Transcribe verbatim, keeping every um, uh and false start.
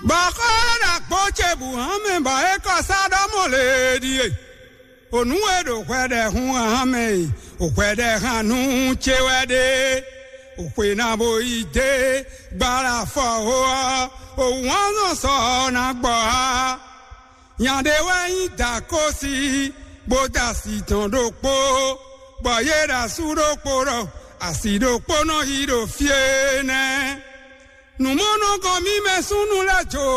Bɔ xó ɖaxó ce bǔ hán mɛ bɔ é kɔ sá ɖɔ mɔ lě ɖíe: Ònú e ɖo hwɛɖɛhun hán mɛ e, hwɛɖɛhannú ce wɛ ɖe. Xwe ná bo yi dé gbala fɔ ó ɔ́, òwúnzɔn sɔ ɔ́ ná gbɔ á. Nya ɖé wɛ nyí Dakósi, bó dó asi tɔn ɖokpó, bɔ yě ɖo asú ɖokpó ɖɔ asi ɖokpó nɔ yi ɖo fí énɛ́. Nǔmɔnɔgɔn mímɛ́ súnnu lɛ́ɛ jó